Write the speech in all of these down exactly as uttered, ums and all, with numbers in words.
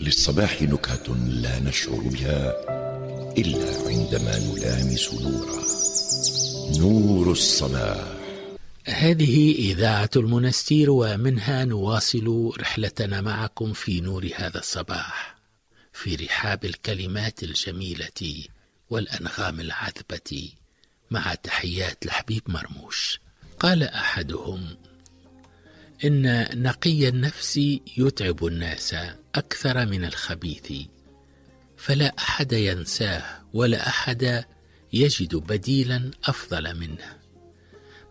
للصباح نكهة لا نشعر بها إلا عندما نلامس نورا، نور الصباح. هذه إذاعة المنستير، ومنها نواصل رحلتنا معكم في نور هذا الصباح، في رحاب الكلمات الجميلة والأنغام العذبة، مع تحيات الحبيب مرموش. قال أحدهم: إن نقي النفس يتعب الناس أكثر من الخبيث، فلا أحد ينساه ولا أحد يجد بديلا أفضل منه.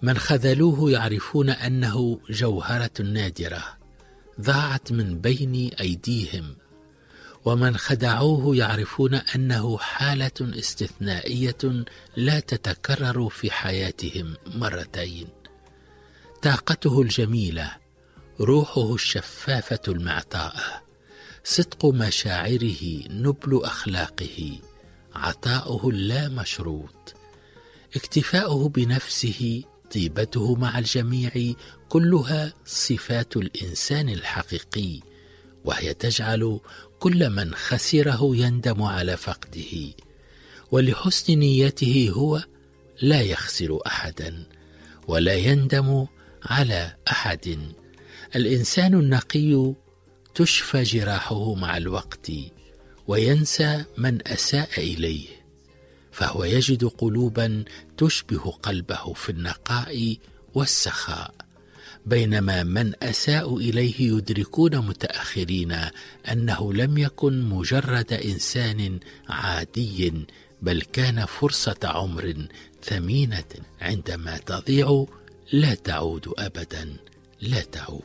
من خذلوه يعرفون أنه جوهرة نادرة ضاعت من بين أيديهم، ومن خدعوه يعرفون أنه حالة استثنائية لا تتكرر في حياتهم مرتين. طاقته الجميلة، روحه الشفافة المعطاءة، صدق مشاعره، نبل أخلاقه، عطاؤه اللامشروط، اكتفاؤه بنفسه، طيبته مع الجميع، كلها صفات الإنسان الحقيقي، وهي تجعل كل من خسره يندم على فقده، ولحسن نيته هو لا يخسر أحدا ولا يندم على أحد. الإنسان النقي تشفى جراحه مع الوقت وينسى من أساء إليه، فهو يجد قلوبا تشبه قلبه في النقاء والسخاء، بينما من أساء إليه يدركون متأخرين أنه لم يكن مجرد إنسان عادي، بل كان فرصة عمر ثمينة عندما تضيع لا تعود أبدا، لا تعود.